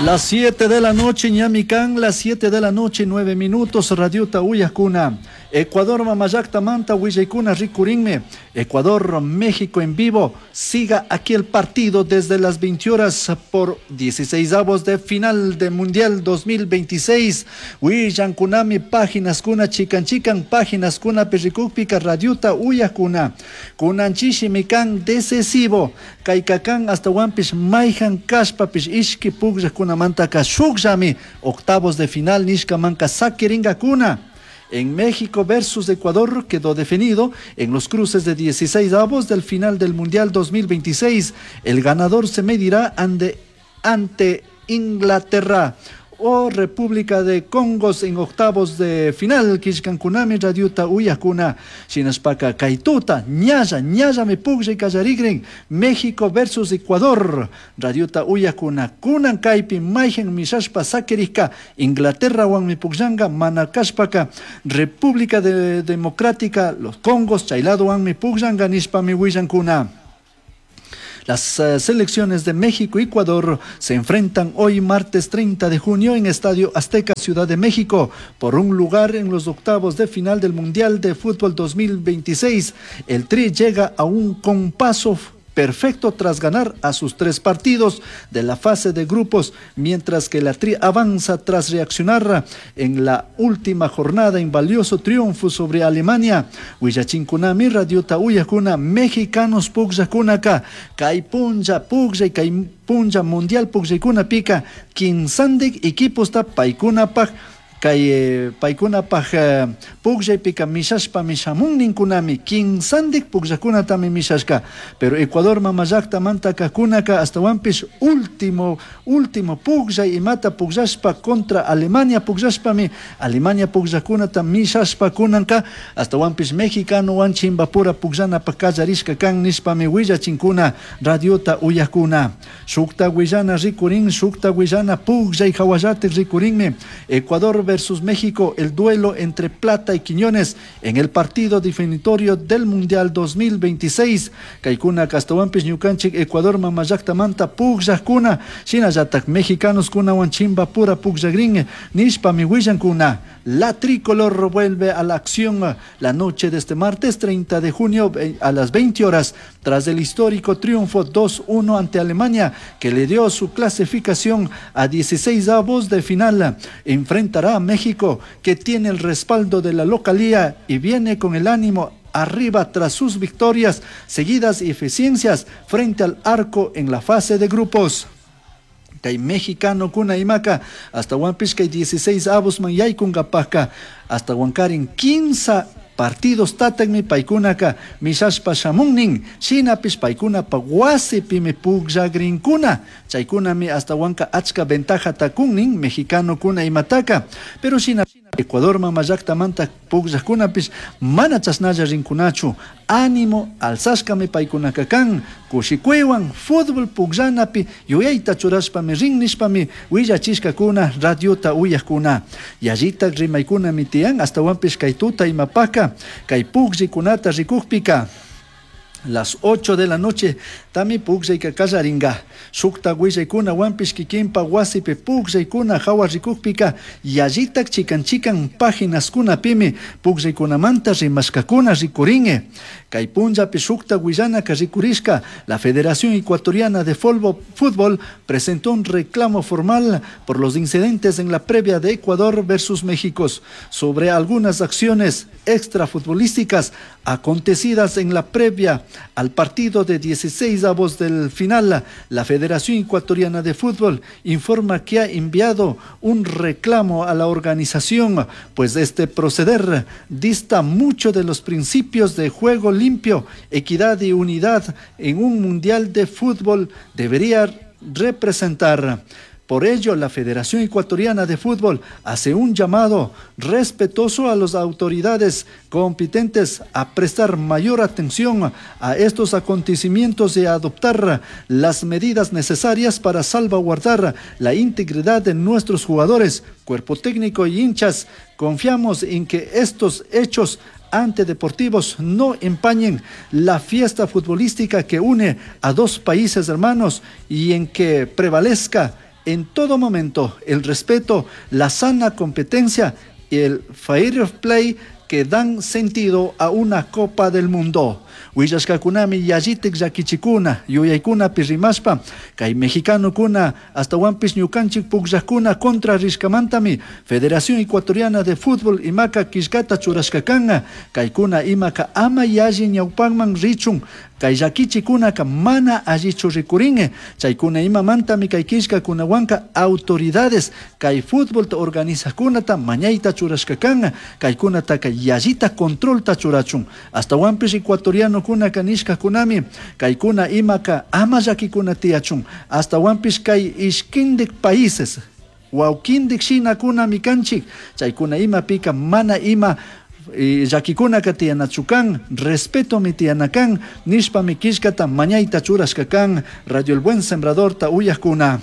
Las 7 de la noche, ñami kan, las 7 de la noche, 9 minutos, Radiota Uyakuna. Ecuador Mamallakta Manta Willaykuna Rikurinme. Ecuador, México en vivo. Siga aquí el partido desde las 20 horas por 16 avos de final de Mundial 2026. Willankunami páginas kuna chikan chikan páginas kuna pirrikukpika Radiota Uyakuna. Kunan chishimi kan decisivo. Kaykakan hasta wampish mayhan kashpapish ishki pukllaqkunamantaka shukllami octavos de final nishkamanka sakiringakuna. En México versus Ecuador quedó definido en los cruces de 16 avos del final del Mundial 2026. El ganador se medirá ante Inglaterra o República de Congos en octavos de final. Kishkankunami radiota uyakuna. Shinashpaka kaytuta, ñalla, ñallami pukllay kallarigrin. México versus Ecuador. Radiota uyakuna. Kunan kaypi mayhan mishashpa sakirika. Inglaterra wanmi pukllanga mana kashpaka. República Democrática, los Congos, chaylado wanmi pukllanga nishpami willankuna. Las selecciones de México y Ecuador se enfrentan hoy martes 30 de junio en Estadio Azteca, Ciudad de México, por un lugar en los octavos de final del Mundial de Fútbol 2026. El Tri llega a un compaso perfecto tras ganar a sus 3 partidos de la fase de grupos, mientras que la Tri avanza tras reaccionar en la última jornada en valioso triunfo sobre Alemania. Willachinkunami radiota uyakuna mexicanos pukllakunaka kay punlla pukllay kay punlla mundial pukllaykuna pika kinsandik equiposta paykunapaj kay paykunapaj pukllaypika mishashpa mishamunninkunami kinsandik pukllakunatami mishashka, pero Ecuador mamallaktamanta kajkunaka astawanpish último pukllay imata pukllashpa contra Alemania pukllashpami Alemania pukllakunata mishashpa kunanka astawanpish mexicanowan chimbapura pukllanapaj kallarishka kan nishpami willachinkuna radiota uyakuna. Shukta willana rikurin, shukta willana pukllay hawallatik rikurinmi. Ecuador versus México, el duelo entre Plata y Quiñones en el partido definitorio del Mundial 2026. Kaykuna kastawanpish ñukanchik Ecuador mamallaktamanta pukllakuna, shinallatak mexicanos kunawan chimbapura pukllakrin nishpami willankuna. La tricolor vuelve a la acción la noche de este martes 30 de junio a las 20 horas tras el histórico triunfo 2-1 ante Alemania que le dio su clasificación a 16 avos de final. Enfrentará a México, que tiene el respaldo de la localía y viene con el ánimo arriba tras sus victorias seguidas y eficiencias frente al arco en la fase de grupos. Kay mexicano kuna imaka hasta Huanpish kay 16 avos man yaykunkapajka hasta Huancarin 15 partidos tatakmi paykunaka mishashpa shamunnin shinapish paykunapa wasipimi pukllagrinkuna chaykunami hasta Huanca achka ventaja takunnin mexicano kuna imataka, pero shina Ecuador mamallaktamanta pukllaqkunapish mana chashnalla rinkunachu ánimo alzashkami paykunaka kan kushikuywan fútbol pukllanapi yuyayta churashpami rin nishpami willachishkakuna radiota uyaqkuna yallitak rimaykunami tiyan astawanpish kay tuta imapaka kay pukllikunata rikukpika. Las 8 de la noche tami pukllayka kallaringa shukta willaykuna wampish kikinpa wasipi pukllaykuna hawa rikukpika yallitak chikan chikan páginaskunapimi pukllaykunamanta rimashkakuna rikuringe. Kay punllapi shukta willanaka rikurishka la Federación Ecuatoriana de Fútbol presentó un reclamo formal por los incidentes en la previa de Ecuador versus México sobre algunas acciones extrafutbolísticas acontecidas en la previa al partido de 16 avos del final. La Federación Ecuatoriana de Fútbol informa que ha enviado un reclamo a la organización, pues este proceder dista mucho de los principios de juego limpio, equidad y unidad en un mundial de fútbol debería representar. Por ello, la Federación Ecuatoriana de Fútbol hace un llamado respetuoso a las autoridades competentes a prestar mayor atención a estos acontecimientos y a adoptar las medidas necesarias para salvaguardar la integridad de nuestros jugadores, cuerpo técnico y hinchas. Confiamos en que estos hechos antideportivos no empañen la fiesta futbolística que une a dos países hermanos y en que prevalezca En todo momento el respeto, la sana competencia y el fair play que dan sentido a una Copa del Mundo. Willashkakunami yallitik llakichikuna, yuyaykunapi rimashpa, kay mexicanokuna astawanpish ñukanchik pukllakuna contra rishkamantami Federación Ecuatoriana de Fútbol imaka killkata churashka kanka, kaykuna imaka ama yalli ñawpakman richun, kay llakichikunaka mana allichu rikurin, chaykuna imamantami kay killkakunawanka autoridades kay fútbolta organizajkunata mañayta churashka kanka, kaykunataka yallita controlta churachun, astawanpish ecuatorianokunaka nishkakunami kaykuna imaka ama llakikuna tiyachun, astawanpish kay ishkindik países wawkindik shinakunami kanchik, chaykuna imapika mana ima llakikunaka tiyanachu kan, respetomi tiyana kan, nishpami killkata mañayta churashka kan, Radio El Buen Sembradorta uyajkuna.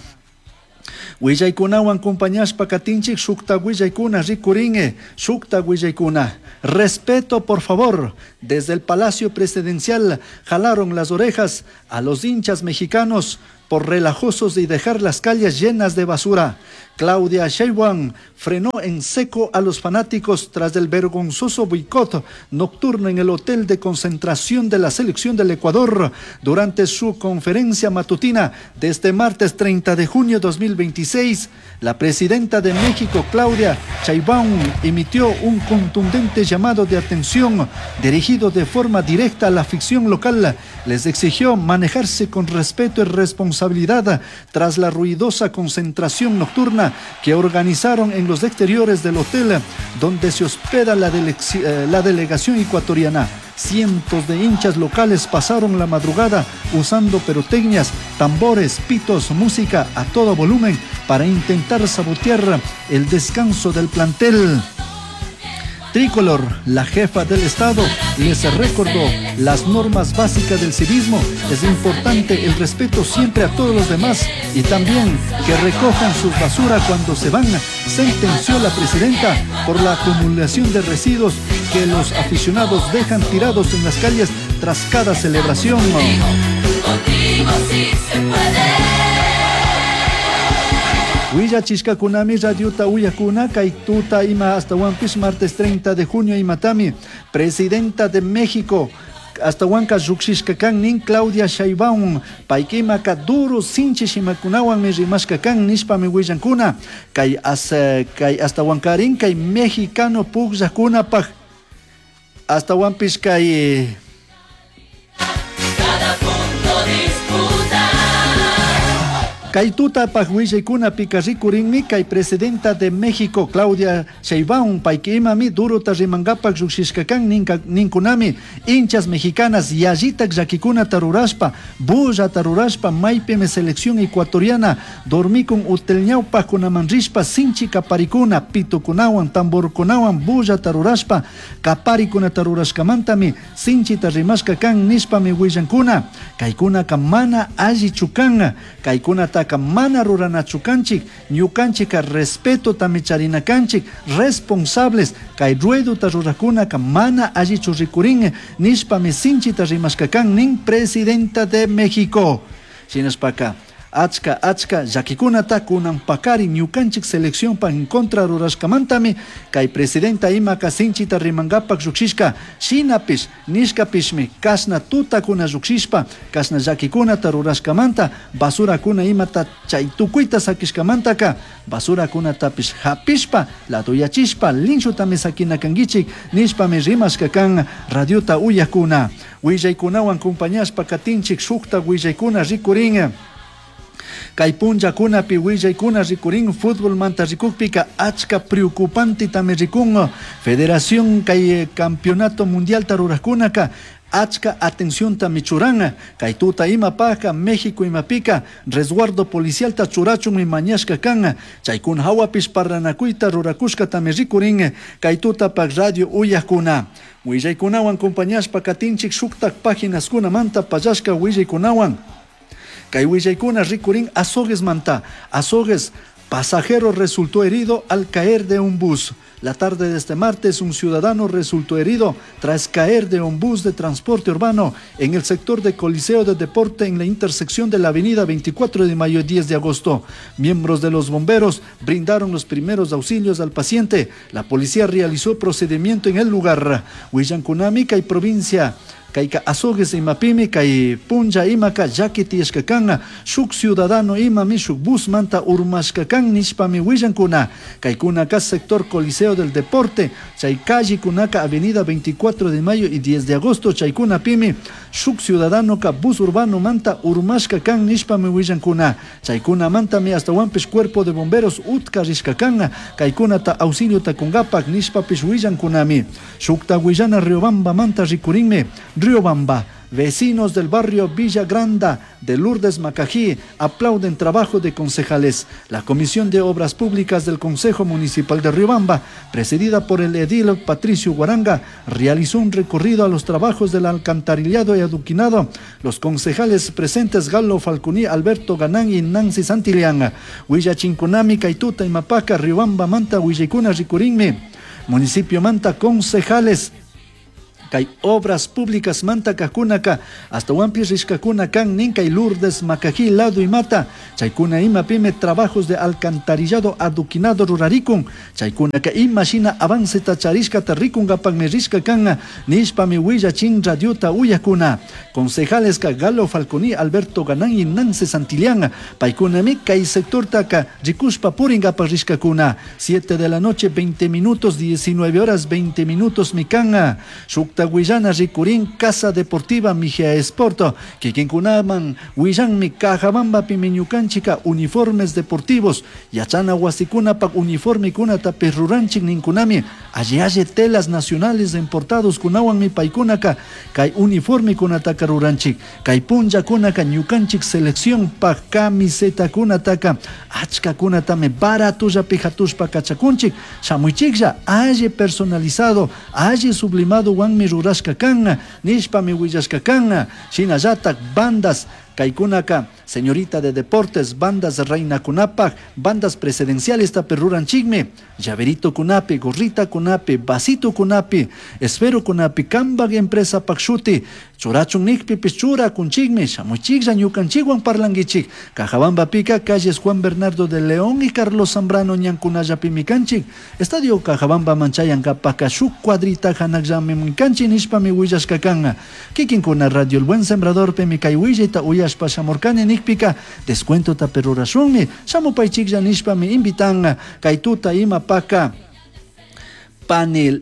Willaykunawan compañashpa katinchik shukta willaykuna rikurin, shukta willaykuna. Respeto, por favor. Desde el Palacio Presidencial jalaron las orejas a los hinchas mexicanos por relajosos y dejar las calles llenas de basura. Claudia Sheinbaum frenó en seco a los fanáticos tras el vergonzoso boicot nocturno en el hotel de concentración de la selección del Ecuador durante su conferencia matutina de este martes 30 de junio de 2026. La presidenta de México, Claudia Sheinbaum, emitió un contundente llamado de atención dirigido de forma directa a la afición local. Les exigió manejarse con respeto y responsabilidad tras la ruidosa concentración nocturna que organizaron en los exteriores del hotel donde se hospeda la delegación ecuatoriana. Cientos de hinchas locales pasaron la madrugada usando pirotecnias, tambores, pitos, música a todo volumen para intentar sabotear el descanso del plantel tricolor. La jefa del Estado les recordó las normas básicas del civismo. Es importante el respeto siempre a todos los demás y también que recojan sus basura cuando se van, sentenció la presidenta por la acumulación de residuos que los aficionados dejan tirados en las calles tras cada celebración. Contigo sí se puede. Willachishkakunami radiota uyakuna kay tuta ima astawanpish martes 30 de junio imatami presidenta de México astawanka llukshishka kan nin Claudia Sheinbaum paykimaka duro sinchi shimakunawanmi rimashka kan nishpami willankuna kay kay astawankarin kay mexicano pukllakunapaj astawanpish kay Cada punto disputa. Kay tutapaj willaykunapika rikurinmi kay presidenta de México Claudia Sheinbaum paykimami durota rimankapak llukshishka kan ninkunami hinchas mexicanas yallitak llakikunata rurashpa bullata rurashpa maypimi selección ecuatoriana dormikun hotel ñawpajkunaman rishpa sinchi kaparikuna pitukunawan tamborkunawan bullata rurashpa kaparikunata rurashkamantami sinchita rimashka kan nishpami willankuna kaykunaka mana allichu kan kaykunataka mana ruranachu kanchik ñukanchika respetotami charina kanchik responsables kay ruedota rurakunaka mana allichu rikurin nishpami sinchita rimashka kan nin presidenta de México. Shinashpaka achka achka llakikunata kunan pakari ñukanchik seleccionpa en contra rurashkamantami kay presidenta imaka sinchita rimankapak llukshishka shinapish nishkapishmi kashna tutakuna llukshishpa kashna llakikunata rurashkamanta basurakuna imata chay tukuyta sakishkamantaka basurakunatapish hapishpa laduyachishpa linchutami sakina kankichik nishpami rimashka kan radiota uyakuna. Willaykunawan compañashpa katinchik shukta willaykuna rikurin. Kay punllakunapi willaykuna rikurin fútbol manta rikukpika achka preocupante tami rikun Federación kay campeonato mundial rurajkunaka achka atención tami churan kay tuta imapaka México imapika resguardo policial ta churachunmi mañashka kan chaykuna hawapish parlanakuyta rurakushka tami rikurin kay tutapak radio uyajkuna. Willaykunawan compañashpa katinchik shuktak páginaskunamanta pallashka willaykunawan. Kay willaykuna rikurin Azogues manta. Azogues, pasajero resultó herido al caer de un bus. La tarde de este martes, un ciudadano resultó herido tras caer de un bus de transporte urbano en el sector de Coliseo de Deporte en la intersección de la avenida 24 de mayo y 10 de agosto. Miembros de los bomberos brindaron los primeros auxilios al paciente. La policía realizó procedimiento en el lugar. Huillankunami kay provincia kayka Azogues imapimi kay punlla imaka llaki tiyashka kan shuk ciudadano imami shuk busmanta urmashka kan nishpami willankuna. Kaykunaka sector Coliseo del Deporte chay callekunaka avenida 24 de mayo y 10 de agosto chaykunapimi shuk ciudadanoka bus urbano manta urmashka kan nishpami willankuna. Chaykunamantami astawanpish cuerpo de bomberos utka rishka kan kaykunata auxiliota kungapak nishpapish willankunami. Shukta willana Riobamba manta rikurinmi. Riobamba, vecinos del barrio Villa Granda de Lourdes Macají aplauden trabajo de concejales. La Comisión de Obras Públicas del Concejo Municipal de Riobamba, presidida por el edil Patricio Guaranga, realizó un recorrido a los trabajos del alcantarillado y adoquinado. Los concejales presentes Galo Falconi, Alberto Ganán y Nancy Santillán. Huillachinkunami, Kaituta y Mapaca, Riobamba, Manta, Huillicuna, Ricurinmi. Municipio Manta, concejales kay obras públicas manta kajkunaka astawanpis rishkakuna kan nin kay Lourdes Macají lado imata chaykuna imapimi trabajos de alcantarillado adoquinado rurarikun chaykunaka ima shina avanceta charishkata rikunkapakmi rishka kan nishpami willachin radiota uyakuna. Concejales ka Galo Falconi, Alberto Ganán y Nancy Santillán paykunami kay sectortaka rikushpa purinkapak rishkakuna. 7 de la noche 20 minutos, 19 horas 20 minutos mikan. Shukta Huillana rikurin Casa Deportiva Mijia Sport kikinkunaman willanmi Cajabambapi ñukanchika uniformes deportivos yachana wasikunapak uniformekunata ruranchik ninkunami alli alli telas nacionales importados kunawanmi paykunaka kay uniformekunataka ruranchik kay punllakunaka ñukanchik selección pak camisetakunataka achkakunatami baratullapi hatushpa kachakunchik shamuychiklla alli personalizado alli sublimado wanmi rurashka kan nishpami willashka kan shinallatak bandas kaykunaka señorita de deportes bandas reinakunapak bandas presidenciales tapi ruranchikmi llaverito kunapi gorrita kunapi vasito kunapi esfero kunapi kambak empresa pak shuti churachun nikpipish churakunchikmi shamuychiklla ñukanchikwan parlankichik Cajabambapika calles Juan Bernardo de León y Carlos Zambrano ñankunallapimi kanchik Estadio Cajabamba manchayankapaka shuk cuadrita hanakllami kanchik nishpami willashka kan kikinkuna Radio El Buen Sembrador pimi kay willayta uyashpa shamurkani nikpika descuentota perurashunmi shamupaychiklla nishpami invitan kay tuta imapaka panel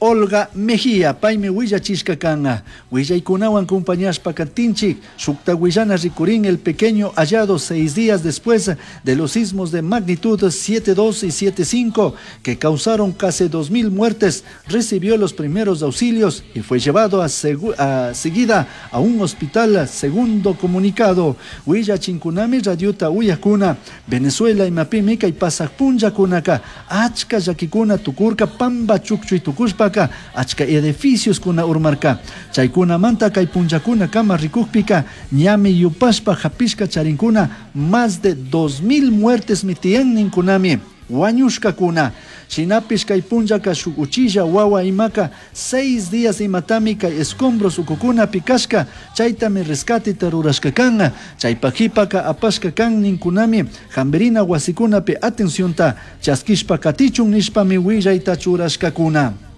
Olga Mejía, paymi willachishka kan willaykunawan compañashpa katinchik shukta willana rikurin el pequeño hallado 6 días después de los sismos de magnitud 7.2 y 7.5 que causaron casi 2.000 muertes, recibió los primeros auxilios y fue llevado a seguida a un hospital, segundo comunicado. Willachinkunami radiota uyakuna Venezuela imapimi kay pasaq punllakunaka achka llakikuna tukurka pamba chukchuy tukushpa achka edificios kuna urmarka chaykunamanta kay punllakuna kama rikukpika ñami yupashpa hapishka charinkuna más de 2000 muertes mitiyan ninkunami wañushkakuna shinapish kay punllaka shuk uchilla wawa imaka 6 días imatami kay escombros ukukunapi kashka chaytami rescateta rurashka kan chaypajipaka apashka kan ninkunami hamberina wasikunapi atencionta chaskishpa katichun nishpami willayta churashkakuna.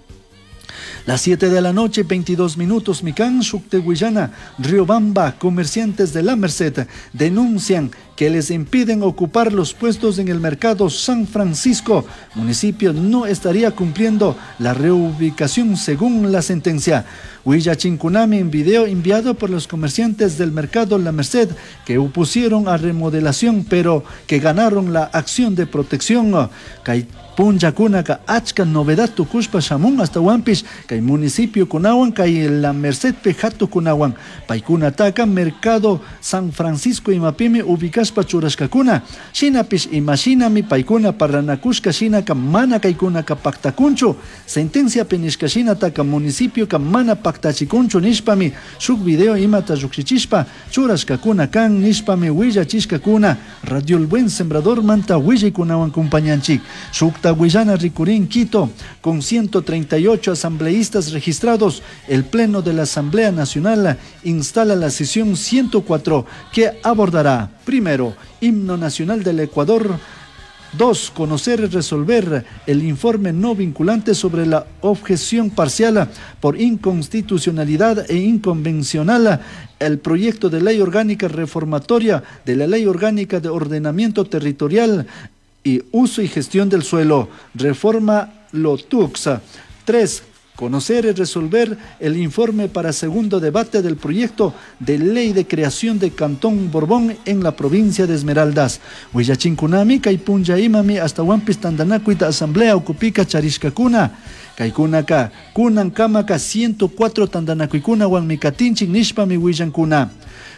Las 7 de la noche, 22 minutos, Micán, Shuktehuillana, Riobamba, comerciantes de la Merced denuncian que les impiden ocupar los puestos en el mercado San Francisco. Municipio no estaría cumpliendo la reubicación según la sentencia. Huillachinkunami en video enviado por los comerciantes del mercado La Merced que opusieron a remodelación pero que ganaron la acción de protección. Kay punllakunaka achka novedad tukushpa shamun hasta huampish kay municipio kunawan kay La Merced pe hatu kunawan paykunataka mercado San Francisco imapimi ubicashpa killkashpa churashkakuna. Shinapish imashinami paykuna parlanakushka shinaka mana kaykunaka paktakunchu. Sentenciapi nishka shinataka municipioka mana paktachikunchu nishpami shuk video imata llukshichishpa churashkakuna kan nishpami willachishkakuna. Radio El Buen Sembrador manta willaykunawan kumpañanchik. Shukta willana rikurin Quito, con 138 asambleístas registrados, el Pleno de la Asamblea Nacional instala la sesión 104 que abordará, primero, Himno Nacional del Ecuador, 2, conocer y resolver el informe no vinculante sobre la objeción parcial por inconstitucionalidad e inconvencional el proyecto de ley orgánica reformatoria de la Ley Orgánica de Ordenamiento Territorial y Uso y Gestión del Suelo, reforma LOTUXA. 3, conocer y resolver el informe para segundo debate del proyecto de ley de creación de Cantón Borbón en la provincia de Esmeraldas. Willachinkunami kay punlla imami astawanpis tantanakuyta asamblea ukupika charishkakuna. Kaykunaka kunankamaka 104 tantanakuykunawanmi katinchik nishpami willankuna.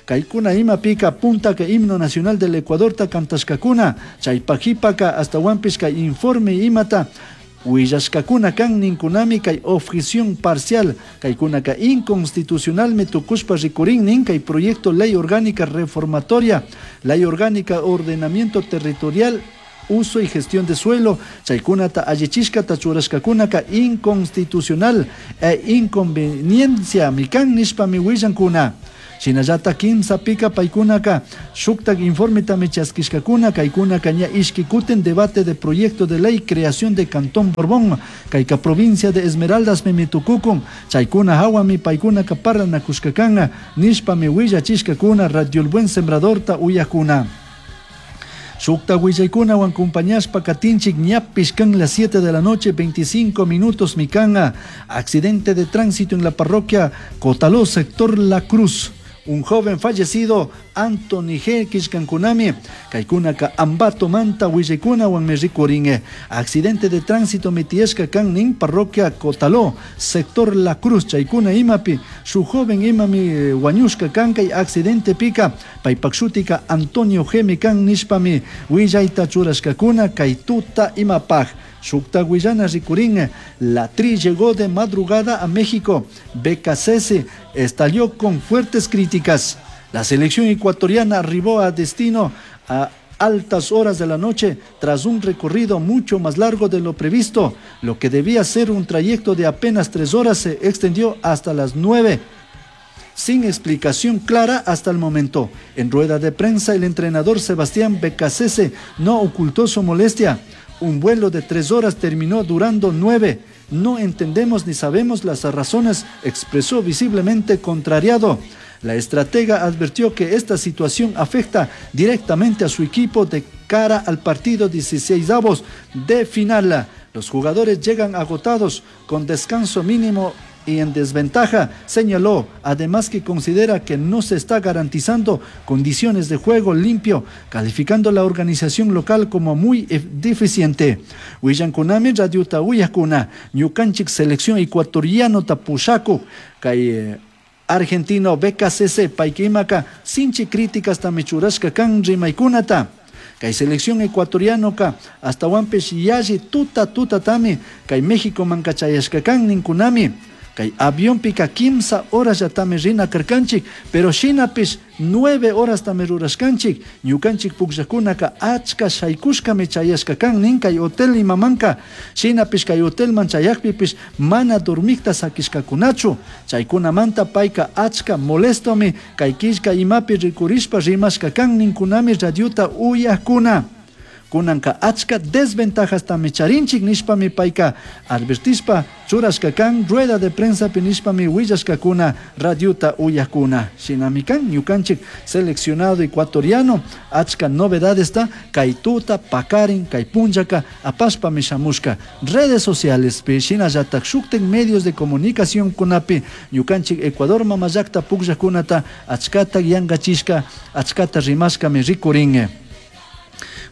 Kaykuna imapika puntaka himno nacional del Ecuadorta kantashkakuna. Chaypajipaka astawanpis kay informe imata willashkakuna kan ninkunami kay objeción parcial kaykunaka inconstitucionalmi tukushpa rikurin nin kay proyecto ley orgánica reformatoria, ley orgánica ordenamiento territorial, uso y gestión de suelo, chaykunata allichishkata churashkakunaka inconstitucional e inconveniencia mikan nishpami willankuna. Shinallata kimsa pika paykunaka shuktak informetami chaskishkakuna kaykunaka ña ishki kutin debate de proyecto de ley creación de Cantón Borbón kayka provincia de Esmeraldas mimitukukun chaykuna hawami paykunaka parlanakushkakana nishpami willachishkakuna Radio El Buen Sembradorta uyakuna. Shukta willaykunawan compañashpa katinchik ñapish kan las 7 de la noche, 25 minutos mikanga. Accidente de tránsito en la parroquia Cotaló, sector La Cruz. Un joven fallecido, Anthony G. Kishkankunami, kaykunaka Ambato Manta willaykunawan mirikurin. Accidente de tránsito mitieshka kan nin parroquia Cotaló, sector La Cruz, chaykuna imapi, su joven imami wañushka kan kay accidente pika, paypakshutika Antonio G. mikan nishpami willayta churashkakuna kay tuta imapaj. Shukta willana rikurin, la Tri llegó de madrugada a México. Beccacece estalló con fuertes críticas. La selección ecuatoriana arribó a destino a altas horas de la noche tras un recorrido mucho más largo de lo previsto. Lo que debía ser un trayecto de apenas 3 horas se extendió hasta las 9. Sin explicación clara hasta el momento. En rueda de prensa, el entrenador Sebastián Beccacece no ocultó su molestia. Un vuelo de 3 horas terminó durando 9. No entendemos ni sabemos las razones, expresó visiblemente contrariado. La estratega advirtió que esta situación afecta directamente a su equipo de cara al partido 16avos de final. Los jugadores llegan agotados, con descanso mínimo y en desventaja, señaló, además que considera que no se está garantizando condiciones de juego limpio, calificando la organización local como muy deficiente. Willankunami radiota uyakuna, ñukanchik selección ecuatoriano tapushaku, kay argentino Beccacece paykimaka sinchi críticas tamichurashka kan rimaykunata. Kay selección ecuatoriano ka hasta wampes yalli tuta tuta tami, kay México mankachayashka kan ninkunami. Kay avión pika 15 horas ya tami rina karkanchik, pero shinapis 9 horas tami rurashkanchik. Ñukanchik pukllakunaka achka shaykushkami chayashka kan nin kay hotel imamanka. Shinapis kay hotelman chayakpipis mana dormikta sakishkakunachu. Chaykunamanta payka achka molestomi kay killka imapi rikurishpa rimashka kan ninkunami radiota uyakuna. Kunanka achka desventajas tami charinchik nishpami payka advertishpa churashka kan rueda de prensa pi nishpami willashkakuna radiota uyakuna. Shinami kan ñukanchik seleccionado ecuatoriano achka novedades ta kay tuta pakarin kay punllaka apashpami shamushka redes sociales pi shinallatak shuktik medios de comunicación kunapi ñukanchik Ecuador mamallakta pukllakunata achkata yankachishka achkata rimashkami rikurin.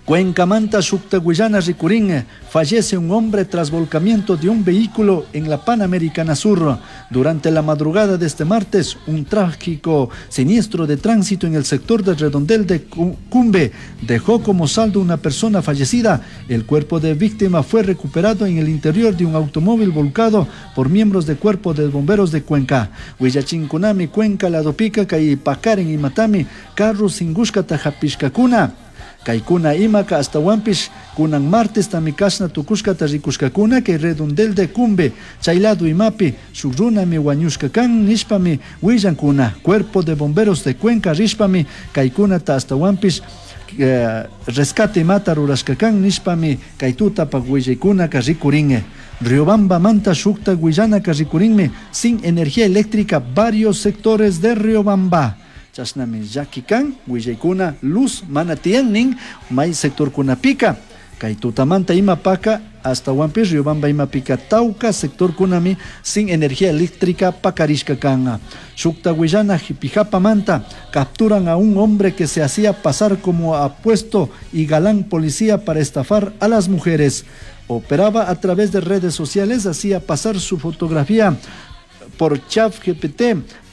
Cuencamanta shukta willana rikurin. Fallece un hombre tras volcamiento de un vehículo en la Panamericana Sur. Durante la madrugada de este martes, un trágico siniestro de tránsito en el sector del redondel de Cumbe dejó como saldo una persona fallecida. El cuerpo de víctima fue recuperado en el interior de un automóvil volcado por miembros del cuerpo de bomberos de Cuenca. Huillachinkunami Cuenca ladopica kay pakarin imatami carro singushkata hapishkakuna. Kaykuna imaka ashtawanpish kunan martes tami kashna tukushkata rikushkakuna kay redondel de Cumbe chay lado imapi shuk runami wañushka kan nishpami willankuna. Cuerpo de bomberos de Cuenca rishpami kaykunata ashtawanpish rescate imata rurashka kan nishpami kay tutapak willaykunaka rikurin. Riobamba manta shukta willanaka rikurinmi sin energía eléctrica varios sectores de Riobamba. Chashnami llaki kan willaykuna luz mana tiyan nin may sectorkunapika kay tutamanta imapaka ashtawanpish Riobamba imapika tawka sectorkunami sin energía eléctrica pakarishka kan. Shukta willana Jipijapamanta capturan a un hombre que se hacía pasar como apuesto y galán policía para estafar a las mujeres. Operaba a través de redes sociales, hacía pasar su fotografía por ChatGPT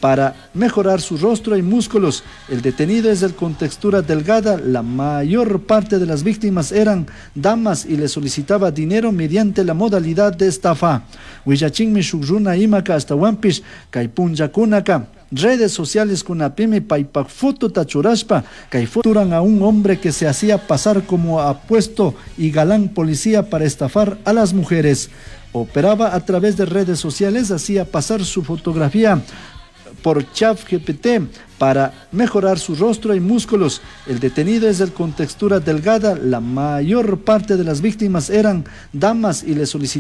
para mejorar su rostro y músculos. El detenido es el con textura delgada. La mayor parte de las víctimas eran damas y le solicitaba dinero mediante la modalidad de estafa. Willachinmi shuk runa imaka ashtawanpish kay punllakunaka redes sociales kunapimi paypak fotota churashpa kay foturan a un hombre que se hacía pasar como apuesto y galán policía para estafar a las mujeres. Operaba a través de redes sociales, hacía pasar su fotografía por ChatGPT para mejorar su rostro y músculos. El detenido es el con textura delgada. La mayor parte de las víctimas eran damas y le solicitaban.